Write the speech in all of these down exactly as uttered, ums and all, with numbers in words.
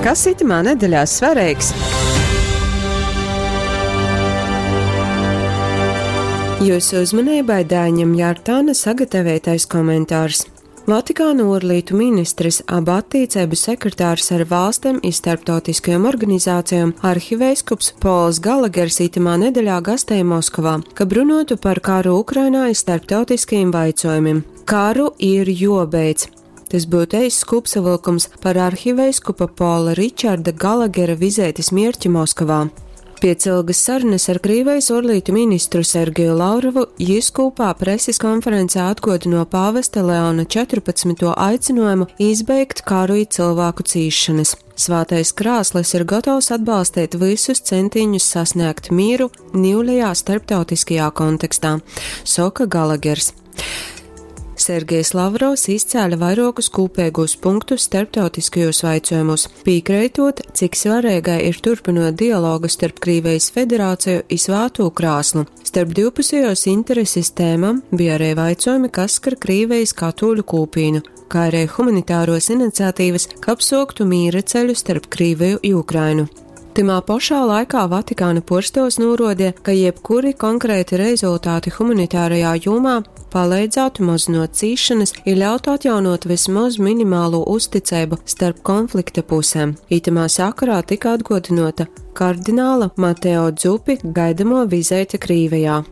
Kas itymā nedeļā svareigs? Jūsu uzmanībai Daiņam Jārtāna sagatavotais komentārs. Vatikāna ārlietu ministrs, aba attiecību sekretārs ar valstīm i starptautiskajām organizācijām arhiveiskups Pols Galagers itamā nedeļā gastēja Moskovā, kab runuotu par karu Ukrainā i starptautiskajiem vaicuojumim. Karu ir juobeidz. Tas būtu eiss kopsavilkums par arhiveiskupa Pola Ričarda Galagera vizētis mierķi Moskovā. Piec ilgas sarunas ar Krīvijas ārlietu ministru Sergeju Lavrovu jis kūpā preses konferencē atgodino pāvesta Leona četrpadsmito aicinājumu izbeigt karu i cilvēku cīšanas. Svātais krāslis ir gatavs atbalstīt visus centiņus sasniegt mieru niulejā starptautiskajā kontekstā, soka Galagers. Sergejs Lavrovs izcēla vairākus kūpīgos punktus starptautiskajos vaicojumos, pīkreitot, cik svarīgai ir turpinot dialogu starp Krīvijas federāciju i Svātū krāslu. Starp divpusējos intereses tēmam bija arī vaicojumi, kas skar Krīvijas katoļu kūpīnu, kā arī humanitāros iniciatīvas, kab soktu mīra ceļu starp Krīviju i Ukrainu. Timā pašā laikā Vatikāna porstos norodīja, ka jebkuri konkrēti rezultāti humanitārajā jomā palīdzētu mazinot cīšanas i ļautu atjaunot vismaz minimālo uzticību starp konflikta pusēm. Itamā sakarā tika atgodinota kardināla Mateo Dzupi gaidamo vizīte Krīvijā.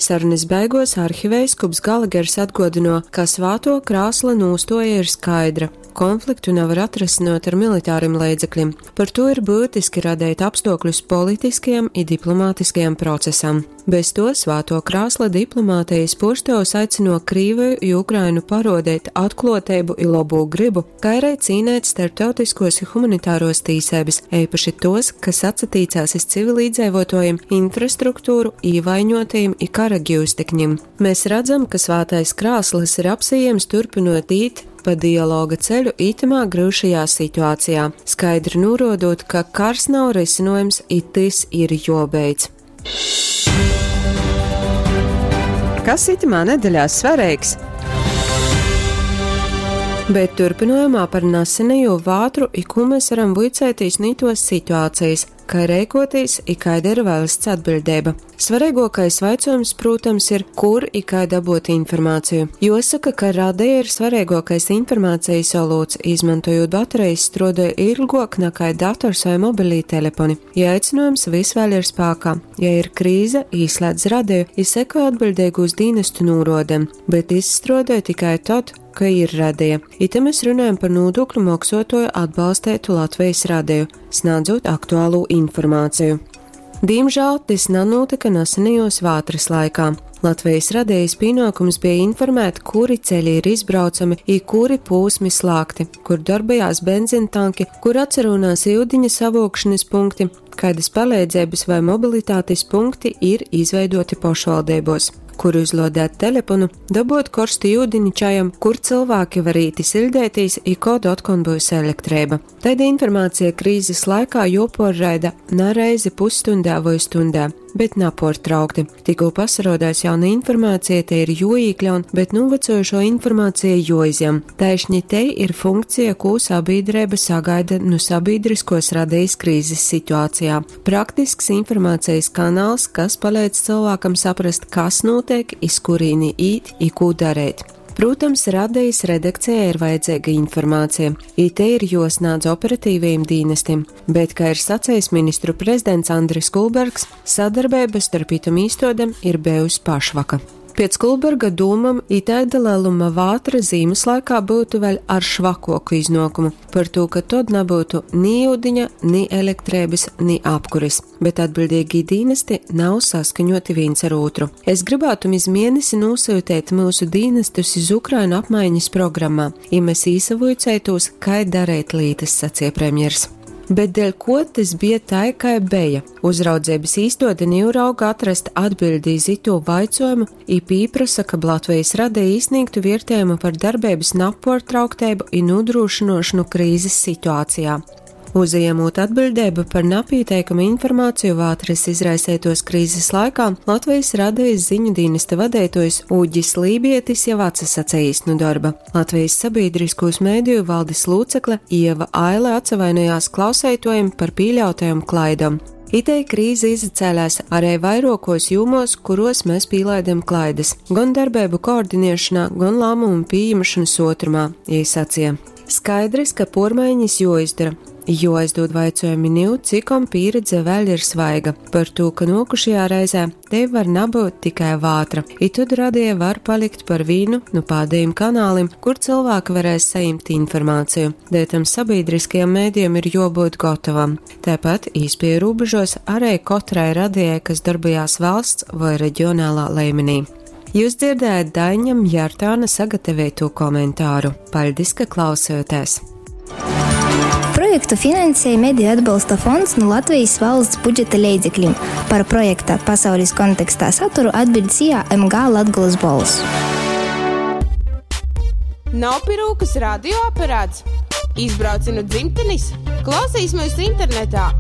Sarunas beigos arhiveiskups Galagers atgodino, ka svāto krāsla nūstoja ir skaidra. Konfliktu nevar atrasinot ar militāriem līdzekļiem. Par to ir būtiski radīt apstākļus politiskajam i diplomātiskajam procesam. Bez to svāto krāsla diplomātijas purstos aicino Krīviju i Ukrainu parodēt atklātību i labo gribu, kā arī cīnēt starptautiskos i humanitāros tīsēbis, eipaši tos, kas atsatīcās iz civilīdzēvotojiem, infrastruktūru, īvaiņotajiem i kara gīvstekņiem. Mēs redzam, ka svātais krāslis ir apsījams turpinot īt pa dialoga ceļu itamā grūšajā situācijā, skaidri norodot, ka kars nav risinojums, i tis ir jobeidz. Kas itamā nedeļā svarīgs? Bet turpinājumā par nasenējo vātru i ko mēs varam vuicētīs nītos situācijas, kā rēkotīs i kāda ir valsts atbildība. Svarīgākais vaicojums, protams, ir, kur i kā dabūt informāciju. Josaka, ka radeja ir svarīgākais informācijas olūts, izmantojot baterijas strodoja ilgāk nekā dators vai mobilī telefoni. Ja aicinājums vis vēl ir spēkā, ja ir krīze, īslēdz radeju, i seko atbildīgu uz dienestu nūrodem, bet izstrodoja tikai tad, ka ir radeja. I te mēs runājam par nodokļu maksātoju atbalstētu Latvijas radeju, sniedzot aktuālu informāciju. Diemžēl tas nenotika nesenajos vātras laikā. Latvijas radejas pienākums bija informēt, kuri ceļi ir izbraucami, i kuri pūsmi slāgti, kur darbojās benzintanki, kur atcerunās iudiņa savokšanas punkti, kādas palīdzības vai mobilitātes punkti ir izveidoti pašvaldībos, kur uzlodēt telefonu, dabot korstu iudini čajam, kur cilvēki var īti sildētīs, i kod otkon būs elektrība. Taida informācija krīzes laikā joporraida na reizi pusstundā vai stundā, bet naportraukti. Tikko pasarodās jauna informācija, te ir joīkļaun, bet novecojušo informāciju joizjam. Taišņi te ir funkcija, ko sabiedrība sagaida no sabiedriskos radijas krīzes situācijā. Praktisks informācijas kanāls, kas palīdz cilvēkam saprast, kas notiek, iz kurīni īt, i ko darīt. Protams, radijas redakcijai ir vajadzīga informācija. I te ir josnādz operatīvajiem dienestiem, bet, kā ir sacījis ministru prezidents Andris Kulbergs, sadarbība starp itam īstodem ir bijusi pašvaka. Pēc Kulberga dūmam itaida lieluma vātra zīmes laikā būtu vēl ar švakoku iznākumu, par to, ka tod nebūtu ni ūdiņa, ni elektrības, ni apkuris, bet atbildīgi dienesti nav saskaņoti viens ar otru. Es gribētu iz mēnesi nosūtīt mūsu dienestus iz Ukrainu apmaiņas programmā, ja mēs īsavuicētos, kā darīt lītas, sacīja premjers. Bet dēļ ko tas bija tai, kā bija? Uzraudzības īstode Nīrauga atrast atbildi iz ito vaicojumu, i pīprasa, ka Latvijas radija izsniegtu vērtējumu par darbības naportrauktēbu i nodrošinošanu krīzes situācijā. Uzajemūt atbiļdeibu par napīteikamu informāciju vātras izraiseituos krīzes laikā, Latvijas Radejis ziņu dīnesta vadeituojs Uģis Lībietis jau atsasacejis nu darba. Latvijas sabiedriskūs mēdīju valdes locekle Ieva Aile atsavainojās klauseituojiem par pieļautajām klaidām. Itei krīze izacēlās arī vairākos jūmos, kuros mēs pīlaidam klaidas - gan darbību koordinēšanā, gan lēmumu pieņemšanas otrumā, iesacīja. Skaidrs, ka pormaiņas joizdara, jo aizdod vaicojumi niu, cikom pieredze vēl ir svaiga par to, ka nokušajā reizē te var nabūt tikai vātra, i tad radie var palikt par vīnu nu pādējiem kanālim, kur cilvēki varēs saņemt informāciju. Dēļ tam sabiedriskajam mēdījam ir jābūt gatavam. Tāpat īspēju robežos arī katrai radijai, kas darbojās valsts vai reģionālā līmenī. Jūs dzirdējat Daiņam Jārtāna sagatavoto komentāru. Paldies, ka klausījāties! Projektu finansēja Mediju atbalsta fonds no Latvijas valsts budžeta leidzekļiem. Par projekta pasaules kontekstā saturu atbild SIA M G Latgulas bols. Nav pie rūkas radioaparāts? Izbrauci no dzimtenes? Klausīs mūs internetā